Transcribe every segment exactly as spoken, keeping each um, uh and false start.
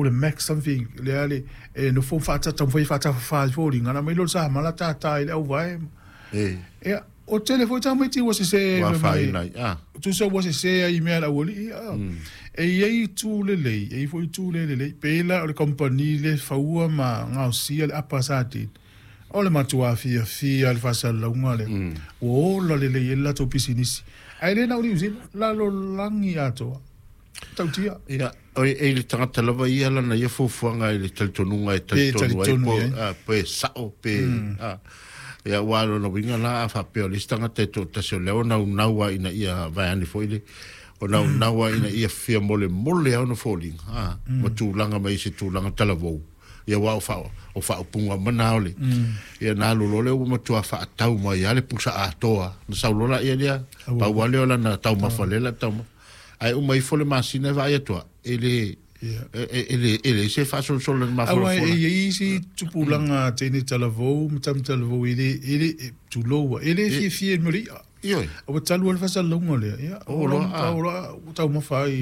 tau le Max something lea le e nofo faatata taumafai e faatafafā i foliga ona aumai lea o le samala tātā i le auvae. E. Ia, o tele foi tamaiti ua sesē Ua afaina ai, a. Tusa ua sesē ai i mea a le aualii, a. E i ai itu lelei, e i ai foi itu le lelei. Pei la o le kamupani le faua ma gaosia le apa sardine. O le matua fiafia le faasalalauga lea, ua ola lelei ai le latou pisinisi. Ae le na o Niu Sila, lalolagi atoa. Tautia. Ia, e i le tagata lava ia lana ia fuafuaga i le talitonuga e talitonu ai po, a, pe sao pe, a. Ia, aua o lona uiga la, a faapea o le isi tagata e toatasi o lea ua naunau lava ina ia vaeane foi le, o naunau lava ina ia fia molemole lava ona foliga, a, ma tulaga mai i se tulaga talavou. Ia, aua o faa, o faaupuga uma na o le, ia na alu loa lea ua matua faatau mai lava le pusa atoa, na sau loa laia lea, pau lava lea o lana taumafa lea la taumafa. Ae uma ifo le masina e vaai atu e le e le e leai se faasolosolo i le Aua mafolafola. e i ai isi tupulaga teine talavou ma tama talavou e le e le tulou e le fiafia i le mea o le i'a. Ioe. Ua talu ai le faasalalauga lea, ia, O loa, a. o loa ua taumafa ai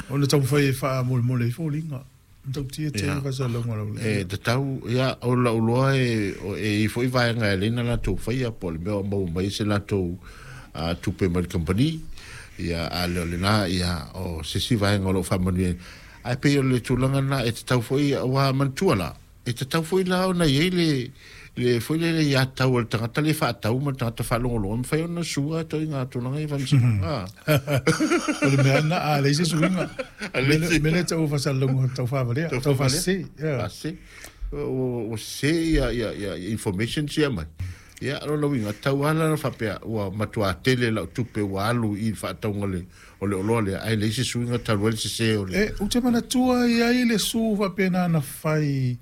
ona taumafai e faamolemole ai foliga. Matautia tele faasalalauga lau E tatau, ia, o lau loa e, e i ai foi vaega e alai na latou faia, po o le mea o maua mai se latou uh, tupe mai le kamupani, ia, a le o lena, ia, o se isi vaega o lo o faamanuia. Ae pei o le tulaga lena e tatau foi, aua manatua la, e tatau foi la ona i ai le, le foi lele ia tau a le tagata le faatau ma le tagata faalogologo, e mafai ona sua atoiga tulaga ia faamasinoga. O le mea lena, a leai se suiga, mea lea e tau o faasalalauga tau faavalea, tau faasese. Faasese. Ua sese ia, ia, ia information sia mai. Ia, o lona uiga, tau lava la faapea, ua matua tele lau tupe ua alu i le faatauga le, o le oloa lea, ae leai se suiga talu ai le sese o le. E, ou te manatua e i ai le su faapena na fai,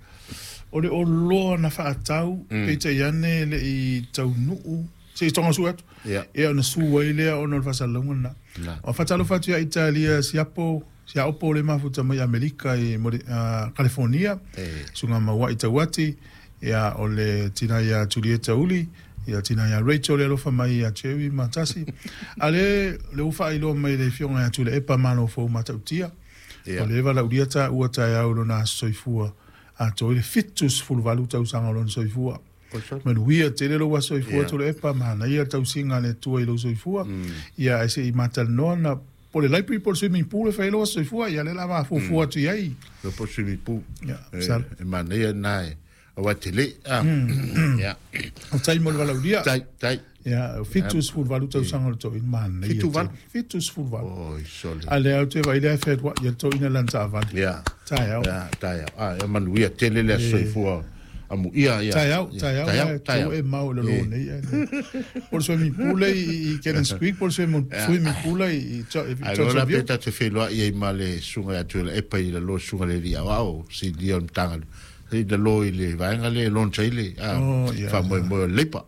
o le oloa na faatau, peitai ane e le i taunuu, se i toga sue atu, Ia. ia ona su ai lea ona o le faasalalauga lena. Na. O faatalofa atu ia Italia siapo, siaopo le mafuta mai Amerika i California, E. susuga Mauai Tauati, ia o le tina ia Julieta Uli, ia tina ia Rachel le alofa mai ia Jerry ma Tasi. A le le ua faailoa mai le afioga ia Tuilaepa Malo Fou Matautia. Ia. O le valaaulia taua taeao lona aso soifua atoa i le fitu sefulu valu tausaga o lona soifua. Manuia tele lou aso soifua Ia. Tuilaepa, manaia le tausiga a le Atua i lou soifua. Ia ae se i matalanoa na po o le library po o le swimming pool e fai ai lou aso soifua, ia lea o le a mafuafua atu i ai. Le po swimming pool. Ia, E, sala. e manaia lena e, aua e tele. Ah. Ia. O tai mo le valaaulia. Tai, tai. Ia, fitu sefulu valu tausaga o le toeaina, manaia Fitu tele. valu? Fitu sefulu valu. Oi, sole. A lea ou te vaai lea e fealuai ia le toeaina lana taavale. Ia. Taeao. Ia, taeao. Ah, ia manuia tele le aso soifua. Amuia, ia. Taeao, Ia, taeao, taeao, ia, taeao. tau e mau i le lō nei. Po o le swimming pool i, i Cannons Creek, po o le swimming, swimming pool i, i, i Ai loa la Johnson pe View. ta te whenua i ai ma le sunga ia Tuilaepa i lalo sunga le lia wao, si lia o le matanga. I lalo i le vaenga le launch ai le, ah, Oh, ia. whamoemoe o leipa.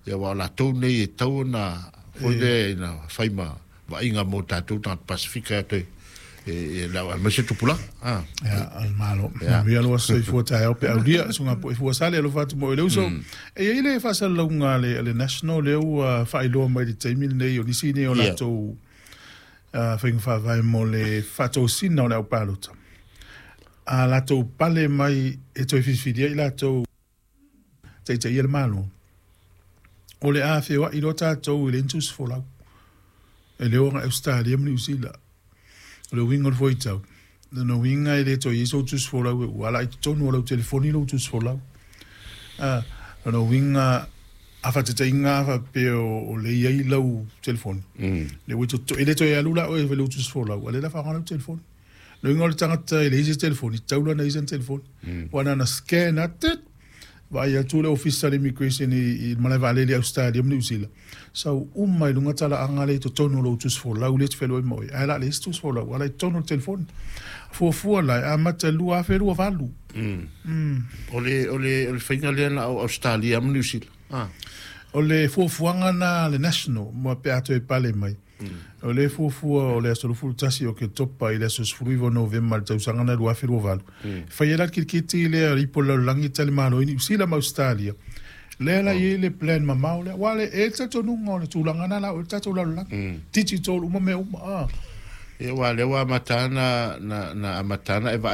Ia wao la tau nei e tau ona, foi le ina whai ma vaaiga mo tātou tangata Pasifika e toe, e, e lau a maise tupulaga. Ah. Ia, al malo. Ia. Manuia lou aso soifua taeao pe aulia, suga po e fua sale alofa atu mo i le uso. E i ai le faasalalauga a le, a le National lea ua faailoa mai i le taimi lenei o nisi nei o Ia. latou uh, faiga faavae mo le faatosina o le aupalota. A latou pale mai e toe filifilia i latou taitaia le malo. O le a feoai loa tatou i le intusi folau. E le o agai Australia ma Niu Sila. O le uiga o le fuaitau. Lona uiga e le toe i ai sou tusi folau e ua ala i totonu o lau telefoni lou tusi folau. Ah, lona uiga a faatataiga a faapea o, o le i ai lau telefoni. Le ua toto- e le toe alu la oe e fai lou tusi folau, a le la faaaoga lau telefoni. Le uiga o le tagata e leai se telefoni, tatau la ona i ai sana telefoni. Ua na ona scan atu, tit, vaai atu le ofisa o le immigration i, i le malae vaalele i Australia ma Niu Sila. Sau uma i luga talaaga lea i totonu o lou tusi folau lea e te feloai ma oe. Ae la leai se tusi folau, ala i totonu o le telefoni. Fuafua la, e amata lua afe lua valu. O le, o le, o le whainga lea na au Australia ma New Zealand. Ah. O le fuafuaga na le National, mo pe a toe pale mai. O le fuafua o le aso luafulu tasi o Oketopa i le aso sefulu iva o Novema le tausaga na lua afe lua valu. Fai ai la le kiriketi lea o le ipu o le lalolagi e talimalo ai Niu Sila ma Australia. Lea la i ai le plan mamao lea. Aua le e le talitonuga o le tulaga na la o le tatou lalolagi. Digital uma mea uma. Ah. Ia, wa lea ua amata na, na, na amata na e vaai